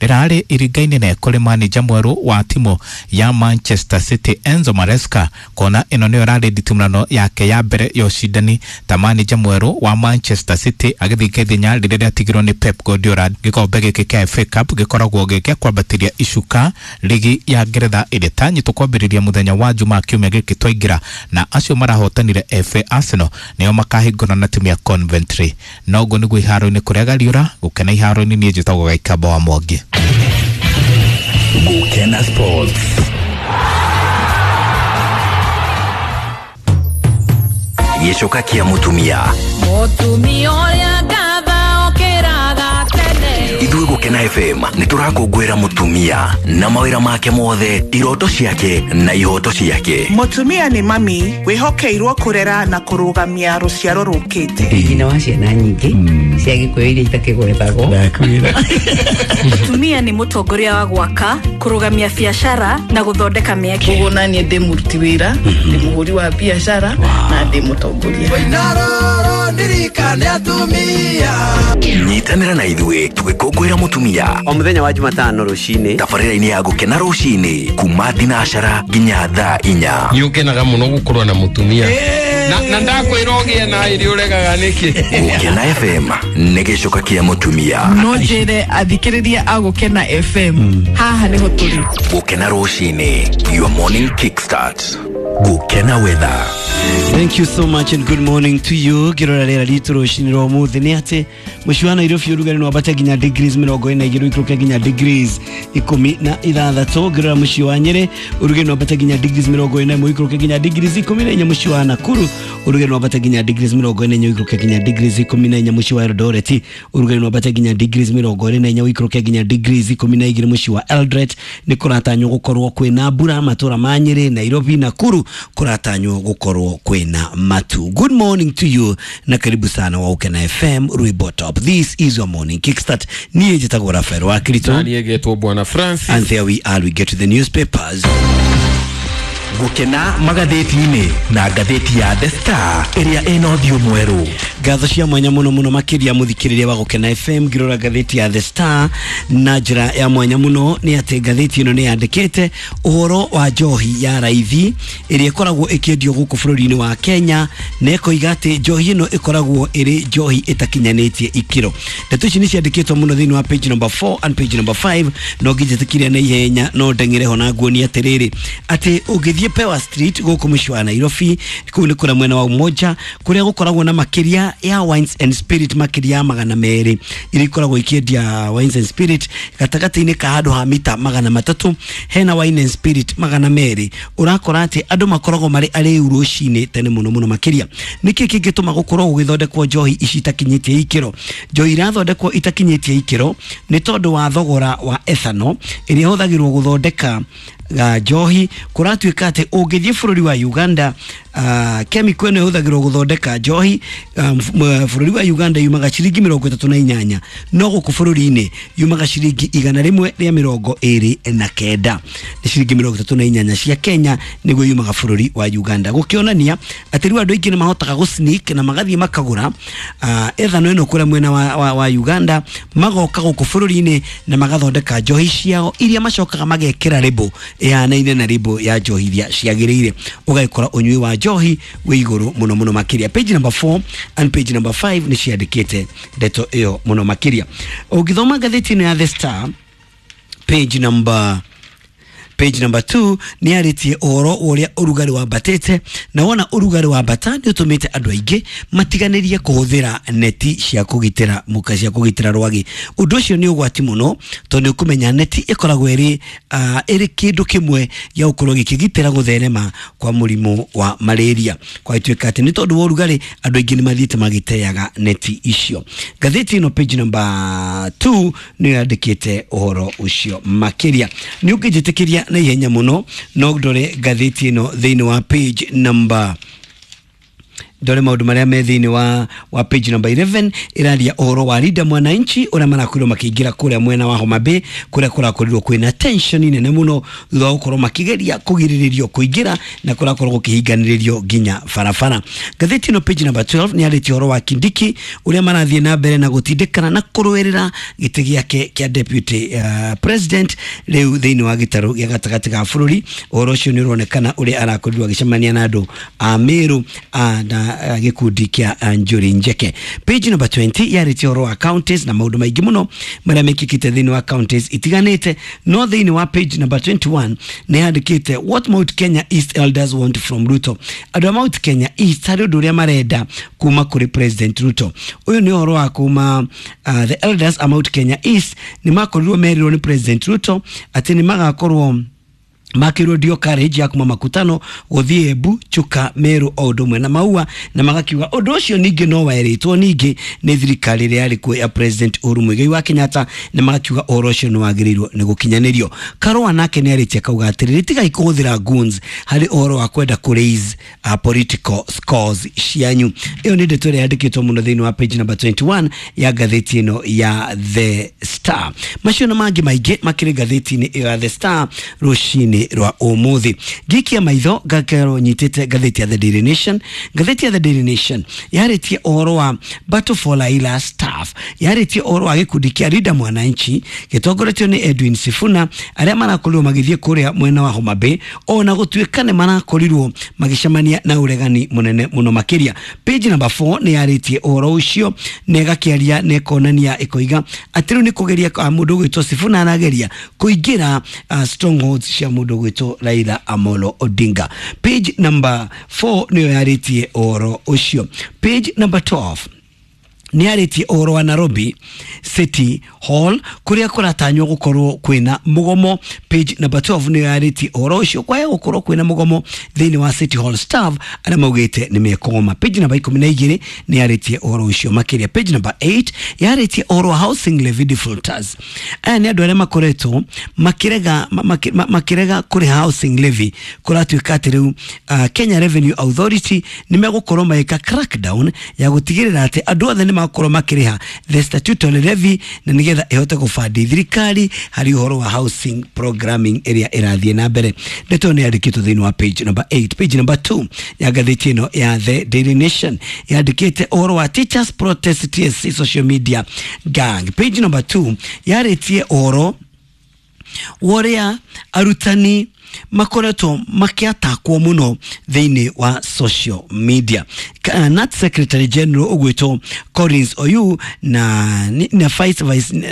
Rĩrarĩ iringa inene kũrĩ manĩja mwerũ wa timu ya Manchester City Enzo Maresca, kuona ĩno nĩyo ĩrarĩ nditimũrano yake ya mbere ya ũcindani ta manĩja mwerũ wa Manchester City, agĩthinga ithenya rĩrĩa rĩatigirwo nĩ Pep Guardiola. Gĩkombe gĩkĩ kĩa FA Cup gĩkoragwo gĩ gĩa kwambatĩria icuka ligi ya Ngeretha ĩrĩa ĩtanyĩtwo kwambĩrĩria mũthenya wa Jumaa kiumia gĩkĩ twaingĩra, na acio marahotanire FA Arsenal nĩo makahingũra na timu ya Coventry. Noguo nĩguo iharo-inĩ kũrĩa gariũra gũkena iharo-inĩ. Niĩ njĩtagwo Gaikamba wa Mwangi. Gukena Sports. Gĩcoka kĩa mũtumia. Mũtumia ũrĩa ngatha okĩraga tene. Ithuĩ Gũkena FM nĩ tũrakũngũĩra mũtumia na mawĩra make mothe, iroto ciake na ihoto ciake. Mũtumia nĩ mami wĩhokeirwo kũrera na kũrũgamia rũciaro rũkĩte. Nyina wa ciana nyingĩ cia Gĩkũyũ iria itakĩgwetagwo. Mũtumia nĩ mũtongoria wa gwaka, kũrũgamia biacara na gũthondeka mĩeke. Koguo naniĩ ndĩ mũruti wĩra, ndĩ mũhũri wa biacara na ndĩ mũtongoria. Nyitanĩra na ithuĩ tũgĩkũngũĩra mũtumia o mũthenya wa Jumatano rũcinĩ tabarĩra-inĩ ya Gũkena rũcinĩ kuma thinacara nginya thaa 4. Nĩ ũkenaga mũno gũkorwo na mũtumia na ndakwĩra ũgĩe na ĩrĩ ũregaga nĩkĩ. Gũkena FM nĩ gĩcoka kĩa mũtumia. No njĩre athikĩrĩria a Gũkena FM, haha nĩho tũrĩ. Gũkena rũcinĩ, your morning kickstart. Gũkena weather. Thank you so much and good morning to you. Ngĩrora rĩera ritũ rũcinĩ rwa ũmũthĩ nĩ atĩ mũciĩ wa Nairobi ũrugarĩ no wambate nginya degrees 42 ũikũrũke nginya degrees 16. Ngĩrora mũciĩ wa Nyĩrĩ ũrugarĩ no wambate nginya degrees 41 ũikũrũke nginya degrees 14. Mũciĩ wa Nakuru ũrugarĩ no wambate nginya degrees 44 ũikũrũke nginya degrees 14. Mũciĩ wa Eldoret ũrugarĩ no wambate nginya degrees 24 ũikũrũke nginya degrees 12. Mũciĩ wa Eldoret nĩ kũratanywo gũkorwo kwĩna mbura. Matũra ma Nyĩrĩ, Nairobi, Nakuru kũratanywo gũkorwo kwĩna matu. Good morning to you na karibu sana wa Ukena FM Rwimbo Top. This is your morning kickstart. Niĩ njĩtagwo Rafael wa Kirito. Na niĩ ngetwo Bwana Francis. And there we are, we get to the newspapers. Gũkena magathĩti-inĩ na ngathĩti ya The Star ĩrĩa ĩna ũthiũ mwerũ. Ngatho cia mwanya mũno mũno makĩria mũthikĩrĩria wa Gũkena FM. Ngĩrora ngathĩti ya The Star na njĩra ya mwanya mũno nĩ atĩ ngathĩti ĩno nĩ yandĩkĩte ũhoro wa njohi ya raithi ĩrĩa ĩkoragwo ĩkĩendio gũkũ bũrũri-inĩ wa Kenya, na ĩkoiga atĩ njohi ĩno ĩkoragwo ĩrĩ njohi ĩtakinyanĩtie ikĩro. Ndeto ici nĩ ciandĩkĩtwo mũno thĩinĩ wa page number 4 and page number 5. No ngĩnjĩtĩkire na ihenya no ndeng'ere ho na nguonie atĩrĩrĩ atĩ ũngĩthiĩ Pewa Street gũkũ mũciĩ wa Nairobi, kũu nĩ kũrĩa mwena wa Umoja kũrĩa gũkoragwo na makĩria ya wines and spirit makĩria ya 200 iria ikoragwo ikĩendia wines and spirit gatagatĩ-inĩ ka handũ ha mita 300 hena wine and spirit 200. Ũrakora atĩ andũ makoragwo marĩ arĩu rũcinĩ tene mũno mũno makĩria. Nĩkĩ kĩngĩtũma gũkorwo gũgĩthondekwo njohi ici itakinyĩtie ikĩro? Njohi irathondekwo itakinyĩtie ikĩro nĩ tondũ wa thogora wa ethanol ĩrĩa ĩhũthagĩrwo gũthondeka njohi. Kũratuĩka atĩ ũngĩthiĩ bũrũri wa Uganda, chemical ĩno ĩhũthagĩrwo gũthondeka njohi bũrũri wa Uganda yumaga ciringi 38, no gũkũ bũrũri-inĩ yumaga ciringi 129. Nĩ ciringi 38 cia Kenya nĩguo yumaga bũrũri wa Uganda, gũkĩonania atĩ rĩu andũ aingĩ nĩ mahotaga gũ-sneak na magathiĩ makagũra ethanol ĩno kũrĩa mwena wa Uganda, magoka gũkũ bũrũri-inĩ na magathondeka njohi ciao iria macokaga magekĩra label ĩhanaine na label ya njohi iria ciagĩrĩire. Ũgagĩkora ũnyui wa njohi wĩ igũrũ mũno mũno makĩria. Page number 4 and page number 5 nĩ ciandĩkĩte ndeto ĩyo mũno makĩria. Ũngĩthoma ngathĩti ĩno ya The Star page number 2 nĩ yarĩtie ũhoro ũrĩa ũrugarĩ wambatĩte, na wona ũrugarĩ wambata nĩ ũtũmĩte andũ aingĩ matiganĩrie kũhũthĩra neti cia kũgitĩra mũka cia kũgitĩra rwagĩ. Ũndũ ũcio nĩ ũgwati mũno tondũ nĩ ũkũmenya neti ĩkoragwo ĩrĩ kĩndũ kĩmwe gĩa gũkorwo gĩkĩgitĩra gũtherema kwa mũrimũ wa malaria. Kwa ituĩka atĩ nĩ tondũ wa ũrugarĩ andũ aingĩ nĩ mathiĩte magĩteaga neti icio. Ngathĩti ĩno page number 2 nĩ yandĩkĩte ũhoro ũcio makĩria. Nĩ ũngĩnjĩtĩkĩria na ihenya mũno no ndore ngathĩti ĩno thĩinĩ wa page number Ndore maũndũ marĩa me thĩinĩ wa page number 11 ĩraria ũhoro wa Linda Mwananchi ũrĩa marakorirwo makĩingĩra kũrĩa mwena wa Homa Bay, kũrĩa kũrakorirwo kwĩna tension nene mũno thutha wa gũkorwo makĩgeria kũgirĩrĩrio kũingĩra na kũrakorwo gũkĩhinganĩrĩrio nginya barabara. Ngathĩti ĩno page number 12 nĩ yarĩtie ũhoro wa Kindiki ũrĩa marathiĩ na mbere na gũtindĩkana na kũrũĩrĩra gĩtĩ gĩake kĩa deputy president rĩu thĩinĩ wa gĩtarũ gĩa gatagatĩ ga bũrũri. Ũhoro ũcio nĩ ũronekana ũrĩa arakorirwo agĩcemania na andũ a Meru na gĩkundi kĩa Njuri Njeke. Page number 20 yarĩtie ũhoro wa counties na maũndũ maingĩ mũno marĩa mekĩkĩte thĩinĩ wa counties itiganĩte, no thĩinĩ wa page number 21 nĩ yandĩkĩte what Mount Kenya East elders want from Ruto. Andũ a Mount Kenya East harĩ ũndũ ũrĩa marenda kuma kũrĩ President Ruto. Ũyũ nĩ ũhoro wa kuma the elders a Mount Kenya East nĩ makorirwo merirwo nĩ President Ruto atĩ nĩ magakorwo makĩrwo ndio courage ya kuma makutano gũthiĩ Embu, Chuka, Meru o ũndũ ũmwe na Maua, na magakiuga ũndũ ũcio ningĩ no werĩtwo ningĩ nĩ thirikari ĩrĩa yarĩ kuo ya President Uhuru Muigai wa Kenyatta, na magakiuga ũhoro ũcio nĩ wagĩrĩirwo nĩ gũkinyanĩrio. Karũa nake nĩ arĩtie akauga atĩrĩrĩ, tigai kũhũthĩra goons harĩ ũhoro wa kwenda kũ raise political scores cianyu. Ĩyo nĩ ndeto ĩrĩa yandĩkĩtwo mũno thĩinĩ wa page number 21 ya ngathĩti ĩno ya The Star. Macio na mangĩ maingĩ makĩrĩ ngathĩti-inĩ ĩyo ya The Star rũcinĩ rwa ũmũthĩ. Ngikia maitho ngakerwo nyitĩte ngathĩti ya The Daily Nation. Ngathĩti ya The Daily Nation yarĩtie ũhoro wa Battle for Raila staff, yarĩtie ũhoro wa gĩkundi kĩa Linda Mwananchi gĩtongoretio nĩ Edwin Sifuna arĩa marakorirwo magĩthiĩ kũrĩa mwena wa Homa Bay, ona gũtuĩka nĩ marakorirwo magĩcemania na ũregani mũnene mũno makĩria. Page number 4 nĩ yarĩtie ũhoro ũcio na ĩgakĩaria na ĩkonania ĩkoiga atĩ rĩu nĩ kũgeria mũndũ ũgwĩtwo Sifuna arageria kũingĩra strongholds cia mũndũ ũgwĩtwo Raila Amolo Odinga. Page number 4 nĩyo yarĩtie ũhoro ũcio. Page number 12 nĩ yarĩtie ũhoro wa Nairobi City Hall kũrĩa kũratanywo gũkorwo kwĩna mũgomo. Page number 12 nĩyo yarĩtie ũhoro ũcio kwaya gũkorwo kwĩna mũgomo thĩinĩ wa City Hall staff arĩa maugĩte nĩ mekũgoma. Page number 12 nĩ yarĩtie ũhoro ũcio makĩria. Page number 8 yarĩtie ũhoro wa housing levy defaulters. Aya nĩ andũ arĩa makoretwo makĩrega kũrĩha housing levy. Kũratuĩka atĩ rĩu Kenya Revenue Authority nĩ megũkorwo magĩka crackdown ya gũtigĩrĩra atĩ andũ othe nĩ makorwo makĩrĩha the statutory levy na nĩgetha ĩhote gũbandi thirikari harĩ ũhoro wa housing programming ĩrĩa ĩrathiĩ na mbere. Ndeto nĩ yandĩkĩtwo thĩinĩ wa page number 8. Page number 2 ya ngathĩti ĩno ya The Daily Nation yandĩkĩte ũhoro wa teachers protest TSC social media gang. Page number 2 yarĩtie ũhoro wa ũrĩa arutani makoretwo makĩatakwo mũno thĩinĩ wa social media. Nat Secretary General ũgwĩtwo Collins Oyu na Vice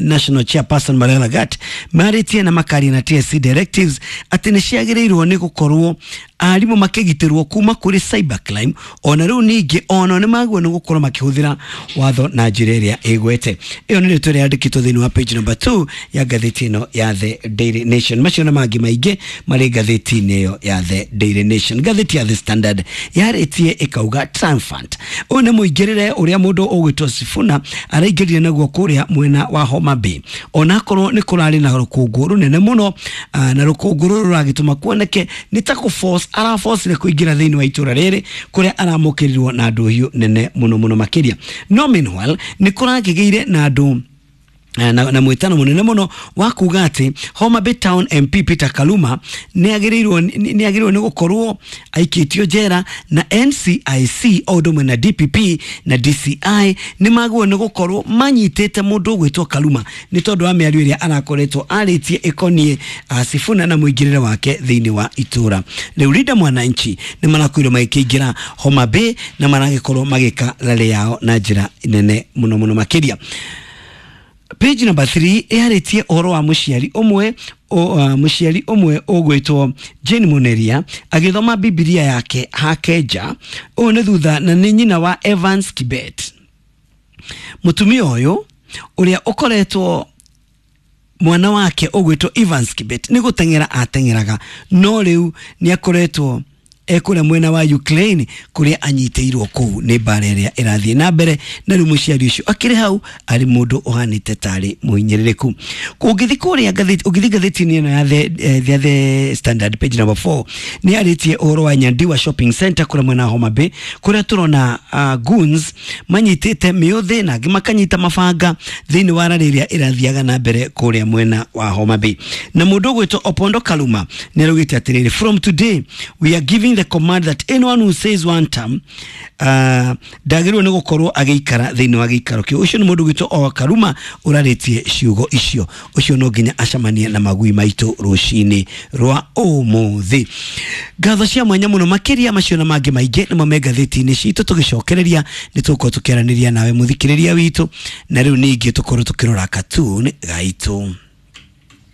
National Chairperson Mariam Lagat marĩtie na makaria na TSC directives atĩ nĩ ciagĩrĩirwo nĩ gũkorwo arimũ makĩgitĩrwo kuma kũrĩ cybercrime, ona rĩu ningĩ ona nĩ magwo nĩ gũkorwo makĩhũthĩra watho na njĩra ĩrĩa ĩgwete. Ĩyo nĩ rĩtwa ĩrĩa yandĩkĩtwo thĩinĩ wa page number 2 ya ngathĩti ĩno ya The Daily Nation. Macio na mangĩ maingĩ marĩ ngathĩti-inĩ ĩyo ya The Daily Nation. Ngathĩti ya The Standard yarĩtie ĩkauga triumphant. Ũyũ nĩ mũingĩrĩre ũrĩa mũndũ ũgwĩtwo Sifuna araingĩrire naguo kũrĩa mwena wa Homa Bay, onakorwo nĩ kũrarĩ na rũkũngũ rũnene mũno, na rũkũngũ rũrũ rũragĩtũma kuoneke nĩ ta kũ-force araforcire kũingĩra thĩinĩ wa itũra rĩrĩ kũrĩa aramũkĩrirwo na ndũhiũ nene mũno mũno makĩria. No meanwhile nĩ kũrakĩgĩire na andũ na mwĩtano mũnene mũno wa kuga atĩ Homa Bay Town MP Peter Kaluma nĩ agĩrĩirwo nĩ gũkorwo aikĩtio njera, na NCIC o ũndũ ũmwe na DPP na DCI nĩ magĩrĩirwo nĩ gũkorwo manyitĩte mũndũ ũgwĩtwo Kaluma nĩ tondũ wa mĩario ĩrĩa arakoretwo arĩtie ĩkoniĩ Sifuna na mũingĩrĩre wake thĩinĩ wa itũra. Rĩu Linda Mwananchi nĩ marakorirwo magĩkĩingĩra Homa Bay na maragĩkorwo magĩka rally yao na njĩra nene mũno mũno makĩria. Page number 3 yarĩtie ũhoro wa mũciari ũmwe mũciari ũmwe ũgwĩtwo Jane Muneria agĩthoma Bibilia yake hakeja. Ũyũ nĩ thutha na nĩ nyina wa Evans Kibet. Mũtumia ũyũ ũrĩa ũkoretwo mwana wake ũgwĩtwo Evans Kibet nĩ gũteng'era ateng'eraga, no rĩu nĩ akoretwo Ekũrĩa mwena wa Ukraine kũrĩa anyitĩirwo kũu nĩ mbara ĩrĩa ĩrathiĩ na mbere, na rĩu mũciari ũcio akĩrĩ hau arĩ mũndũ ũhanĩte tarĩ mũhinyĩrĩrĩku. Ũngĩthiĩ kũrĩa ngathĩti, ũngĩthiĩ ngathĩti-inĩ ĩno ya the Standard, page number 4, nĩ arĩtie ũhoro wa Nyandiwa Shopping Center kũrĩa mwena wa Homa Bay, kũrĩa tũrona goons manyitĩte mĩũthĩ na angĩ makanyita mabanga thĩinĩ wa rarĩ ĩrĩa ĩrathiaga na mbere kũrĩa mwena wa Homa Bay. Na mũndũ ũgwĩtwo Opondo Kaluma nĩ araugĩte atĩrĩrĩ, "From today we are giving the command that anyone who says one term ndagĩrĩirwo nĩ gũkorwo agĩikara thĩinĩ wa gĩikaro kĩu." Ũcio nĩ mũndũ ũgwĩtwo o Karuma ũrarĩtie ciugo icio. Ũcio no nginya acemanie na magui maitũ rũcinĩ rwa ũmũthĩ. Ngatho cia mwanya mũno makĩria. Macio na mangĩ maingĩ nĩmo me ngathĩti-inĩ citũ. Tũgĩcokereria nĩ tũgũkorwo tũkĩaranĩria nawe mũthikĩrĩria witũ, na rĩu ningĩ tũkorwo tũkĩrora cartoon gaitũ.